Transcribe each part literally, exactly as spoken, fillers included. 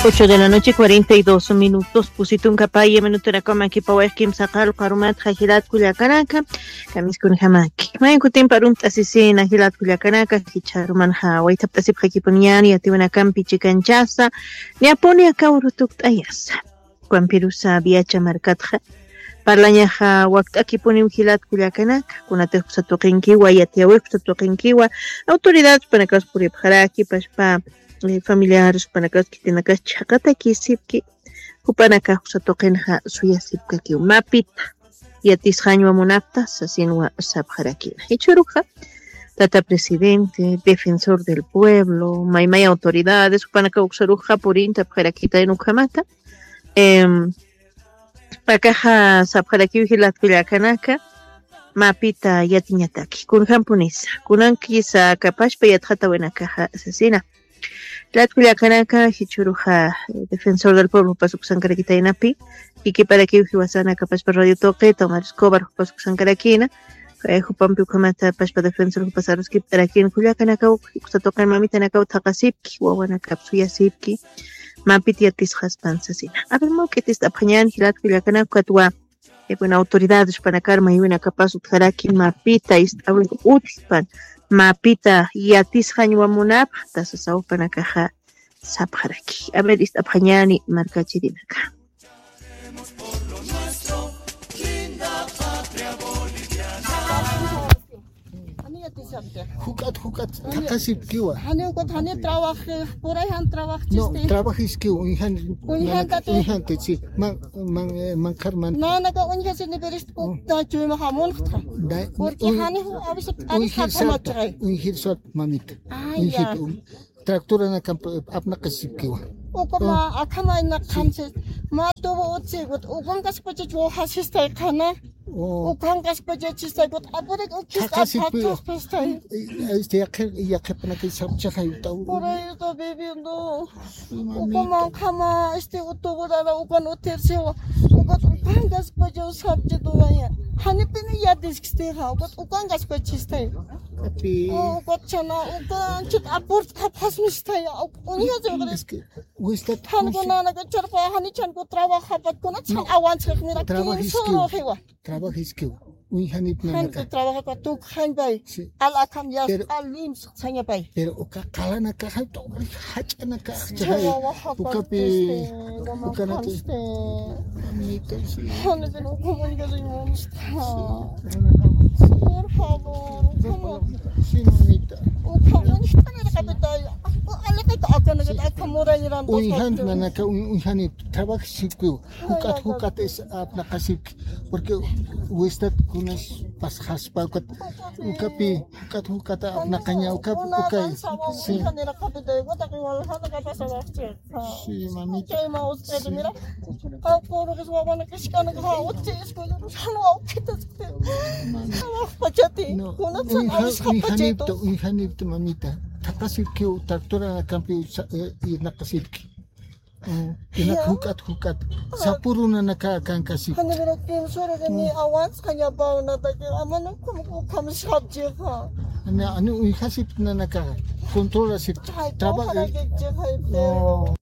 Ocho de la noche, cuarenta y dos minutos. Pusi tunka paya minutunakaw makipawayxki kimsa qallqu arumat jilat kullakanaka. Kamiskunjamaki. Mayan kutimpi arumt'asisina jilat kullakanaka. Jichha arumanxa wayt'apt'asipxakipuniñäni yatiwinakampi chikanchasa. Niyapuni aka uru tukt'ayasa. Juan Pirusa Viacha markatxa. Parlañaxa wakt'akipuniw jilat kullakanaka. Kunatix uksa tuqinkiwa, yatiyäwix uksa tuqinkiwa. Autoridades panakaws puripxaraki, pachpa eh, familiares, jupanakaws khitinakas chhaqatakisipki, jupanakax uksa tuqinxa suyasipkakiw. Mapita yatisxañwa munapta sasinwa sapxarakina. Jichhüruxa, tata presidente, defensor del pueblo, maymay autoridades, jupanakaw uksaruxa purintapxarakitayna ukhamata. Em, akaxa sapxarakiw jilat kullakanaka, mapita yatiñataki. Kunjampunisa, kunankisa aka pachpa yatxatäwinakaxa sasina. Jilat kullakanaka, jichhüruxa, eh, defensor del pueblo jupas uksankarakitaynapi, jikiparakiw jiwasan aka pachpa radio tuqita, Omar Escobar jupas uksankarakina, eh, jupampi ukhamata pachpa defensor jupas aruskipt'arakina, kullakanakaw, uksa tuqin mamitanakaw thaqasipki, wawanakap suyasipki, mapit yatisxaspan sasina. A ver, mä juk'it ist'apxañäni, jilat kullakanaka, ukatwa, eh, bueno, autoridades jupanakar maywinakapas utjaraki mapita ist'awir utjpan, mapita yatisxañwa munapxta sasaw jupanakaxa sapxaraki. A ver, ist'apxañäni markachirinaka. Juk'at, juk'at, thaqasipkiwa. Jani ukat, jani trabaji, puray jan trabaji. No, chisti. Trabajiskiw, uñjan, uñjanta, uñjanta, sí. Man, man, eh, manqharman. Nanaka uñjasini, pero est-, mm, ukta chuyma jamunxta. Da-, porque uñ-, jani, a veces, uñjir sat, uñjir sat, mamita. Ay, uñjir, ya. Um, tractoranakamp apnaqasipkiwa. Ukama, ah, akhama ina qhansis. Ma tubu utsi, ukankaspachach wawjasistay qhana. Oh. Ukankaspachachistay, ukat apurach ukista, thaqasipkiwa, apnaqaspastay. Este, yaqhi, yaqhipanakay sapchaxay utaw. Por ahí está viviendo. Sí, mamita. Ukama, ukhama, este, utuburara, ukan utirsiwa. Ukat ukankaspachaw sapchituwaya. Janipini yatiskistixa, ukat ukankaspachistay. Ukat chhana, ukanchit apurt'apxasmistaya, uñjasiwxaris. Es que, wistat, jan kunanaka charpa, jani chhanku trabajapat, kunat chhan awanchxaq, mira, trabajiskiw, kinsuruxiwa. Trabajiskiw, uñjanit nanaka. Jan trabajapat, tukxañpay. Sí. Al akham yas, pero, al lims, sañapay. Pero uka qalanakaxa, jach'anakaxa, ukapi, ukanaka. Mamita, sí. Jani, pero, ¿cómo digas, hermano? Por favor, ¿cómo? Sí, mamita. Uka uñjtanirqapitay. Alaqata akanakata akamurayran. Uñjan nanaka, uñ-, uñjanit, trabajasipkiw. Juk'at, juk'at es apnaqasipki. Porque wistat kunas pasxaspa, ukat, ukapi, juk'at, juk'at apnaqaña, ukapi, ukay. Sí. Sí, mamita. Chayma utjata, mira. Qawqurux wawana kashkanaka, utji escuela, jan wawqita, wawqpachati. No, kunatsan uñja-, awisqapachatu. Uñjanipta, uñjanipta, mamita. Thaqasipkiw, tractoranakampi, eh, irnaqasipki. Mm, inak juk'at, juk'at. Sapurunanaka kankasipki. Jani, mira, kinsuraqini awanchxañapawnataki, amana ukham, ukham sapchixa. Ani, ani uñjasipta nanaka, controlasipta. Ay, trabajo. Ojalá que llegue, ay, no.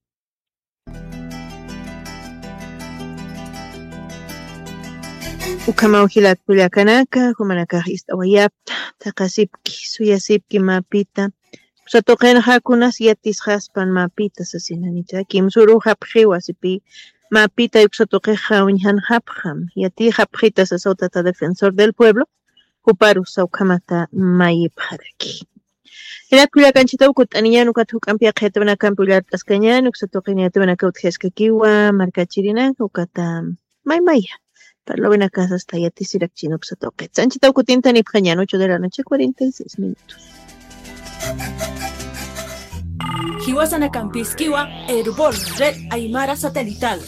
Ukhamaw jilat kullakanaka, jumanakax ist'awayapta, thaqasipki, suyasipki mapita. Uksa tuqinxa kunas yatisxaspan mapita sasinanita. Kimsürux japxiwa sipi mapita uksa tuqixa uñjanxapxam. Yatixapxita sasaw tata defensor del pueblo. Juparus ukhamata mayipxaraki. Jilat kullakanchitaw kut'aniñän ukat juk'ampi yaqha yatawinakampi ullart'askañän, uksa tuqin yatawinaka utjaskakiwa, markachirinaka, ukata maymaya. Parlawinaka sasta yatisirakchini uksa tuqit. Sanchitaw kutintanipxañän, ocho de la noche, cuarenta y seis minutos. Jiwasanakampïskiwa, Erbol, Red Aymara Satelital.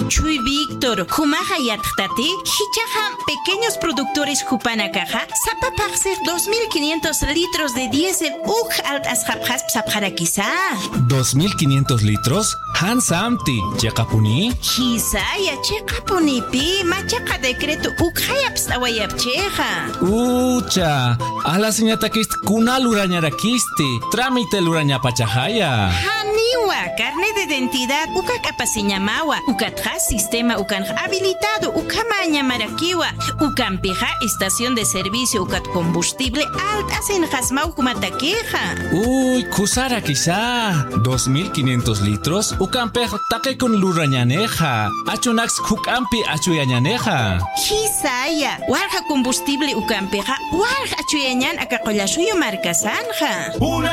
Chuy Víctor. Jumaxa yatxtati, jichhaxa pequeños productores jupanakaxa sapa phaxsix dos mil quinientos litros de diésel uk alt'asxapxaspa sapxarakisa. ¿Dos mil quinientos litros? ¿Jan samti, chiqapuni? Jisaya, chiqapunipi, machaqa decreto ukxay apst'awayapchixa. Ucha, alasiñatakisti kuna lurañarakisti, trámite lurañapachaxaya. Janiwa, carnet de identidad uka k'apasiñamawa, ukatxa sistema ukanx habilitado ukhamäñamarakiwa, ukampixa estación de servicio ukat combustible alt'asinxasmaw jumatakixa. Uy, khusarakisa, dos mil quinientos litros ukampix taqikun lurañänixa, achunaks juk'ampi achuyañänixa. Jisaya, walja combustible ukampixa walja achuyañän aka Qullasuyu markasanxa.